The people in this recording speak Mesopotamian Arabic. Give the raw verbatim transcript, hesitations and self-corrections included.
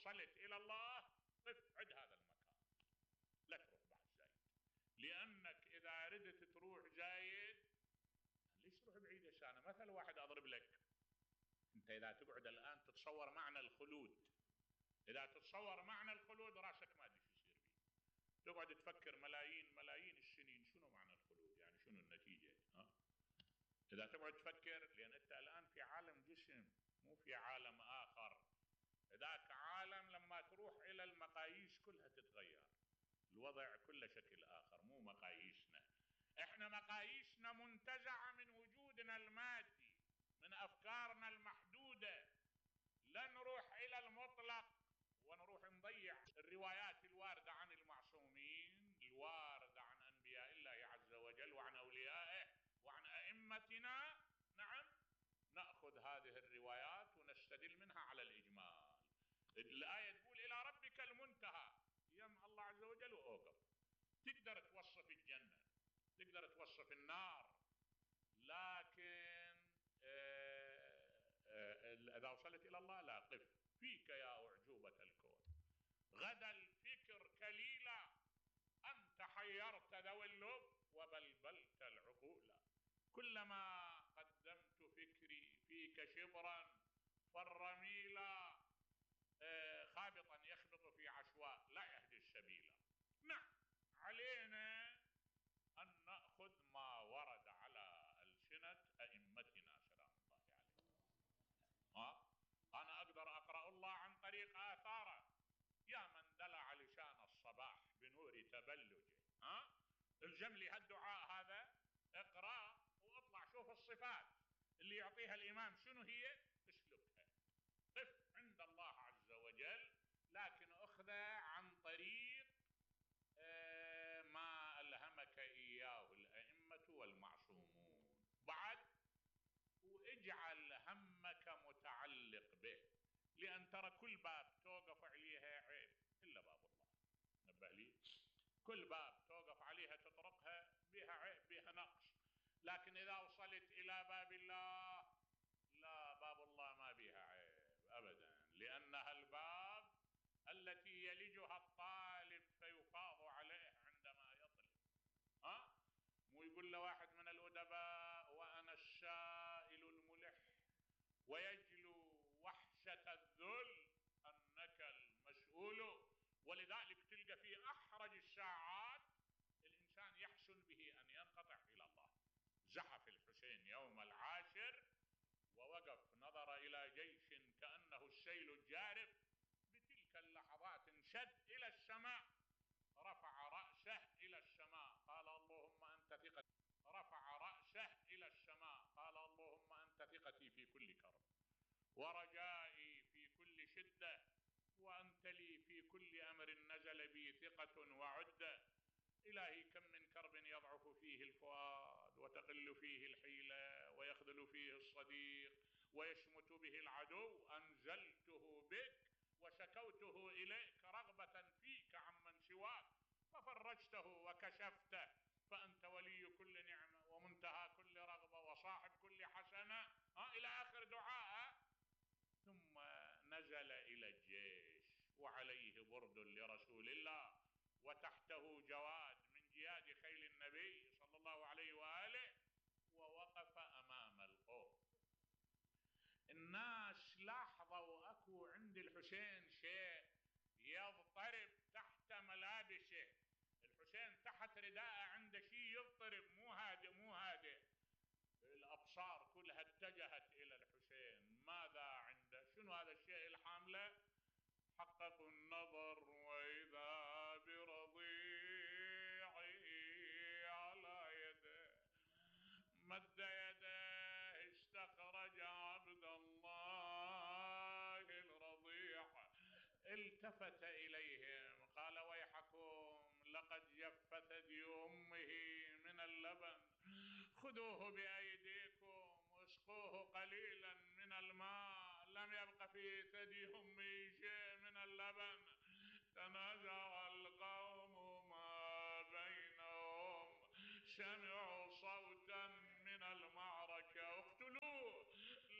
وصلت إلى الله قف عند هذا المكان، لا تروح بعد زايد، لأنك إذا ردت تروح زايد ليش تروح بعيد يا شانا؟ مثل واحد أضرب لك، أنت إذا تقعد الآن تتصور معنى الخلود، إذا تتصور معنى الخلود راسك ما أدري شو يصير فيه، تقعد تفكر ملايين ملايين السنين شنو معنى الخلود، يعني شنو النتيجة؟ ها؟ إذا تقعد تفكر، لأن أنت الآن في عالم جسم مو في عالم آخر، ذاك عالم لما تروح إلى المقاييس كلها تتغير، الوضع كله شكل آخر، مو مقاييسنا. إحنا مقاييسنا منتزعة من وجودنا المادي، من أفكارنا المحدودة، لا نروح إلى المطلق ونروح نضيع الروايات الواردة عن المعصومين، الواردة عن أنبياء الله عز وجل وعن أوليائه وعن أئمتنا. نعم، نأخذ هذه الروايات ونستدل منها على الإجمال. الآية تقول إلى ربك المنتهى، يم الله عز وجل وأوقف. تقدر توصف الجنة، تقدر توصف النار، لكن إذا وصلت إلى الله لا، قف فيك يا أعجوبة الكون، غدا الفكر كليلا، أنت حيرت ذوي اللب وبلبلت العقول، كلما قدمت فكري فيك شبرا فالرميلا خابطا يخبط في عشواء لا يهدي السبيل. نعم، علينا أن نأخذ ما ورد على ألسنة أئمتنا سلام الله عليهم. ها؟ أنا أقدر أقرأ الله عن طريق آثاره، يا من دلع لسان الصباح بنور تبلجه، ها؟ الزم لي هالدعاء هذا، اقرأ واطلع شوف الصفات اللي يعطيها الإمام شنو هي، اسلكها، قف عند الله عز وجل، لكن أخذه عن طريق ما ألهمك إياه الأئمة والمعصومون. بعد واجعل همك متعلق به، لأن ترى كل باب توقف عليها عيب إلا باب الله، نبه لي، كل باب توقف عليها تطرقها بها عيب بها نقص، لكن إذا وصلت إلى باب الله لا، باب الله ما بها عيب أبدا، لأنها الباب التي يلجها الطالب فيفاض عليه عندما يطلب. ها؟ مو يقول له واحد من الأدباء وأنا السائل الملح ويجلو وحشة الذل أنك المسؤول. ولذلك تلقى في أحرج الساعات الإنسان يحسن به أن ينقطع إلى الله. زحف الحسين يوم العاشر ووقف نظر إلى جيش كأنه السيل الجارف، بتلك اللحظات انشد إلى السماء، رفع رأسه إلى السماء قال اللهم أنت ثقتي، رفع رأسه إلى السماء قال اللهم أنت ثقتي في كل كرب ورجائي في كل شدة، وأنت لي في كل أمر نزل بي ثقة وعدة. إلهي كم من كرب يضعف فيه الفؤاد وتقل فيه الحيلة ويخذل فيه الصديق ويشمت به العدو، أنزلته بك وشكوته إليك رغبة فيك عمن سواك، ففرجته وكشفته، فأنت ولي كل نعمة ومنتهى كل رغبة وصاحب كل حسنة، ها إلى آخر دعاء. ثم نزل إلى الجيش وعليه برد لرسول الله وتحته جواد من جياد خيل النبي صلى الله عليه وآله، ووقف أمام القوم. الناس لاحظوا أكو عند الحسين شيء يضطرب تحت ملابسه، الحسين تحت رداءه عنده شيء يضطرب، مو هادئ مو هادئ. الأبصار كلها اتجهت إلى الحسين، ماذا عنده؟ شنو هذا الشيء الحامله؟ حققوا النظر وإذا برضيعي على يده، مد يده استخرج عبد الله الرضيع، التفت إليهم قال ويحكم لقد جف ثدي أمه من اللبن، خذوه بأيديكم واسقوه قليلا من الماء، لم يبق في ثدي أمه شيء من اللبن. تنازع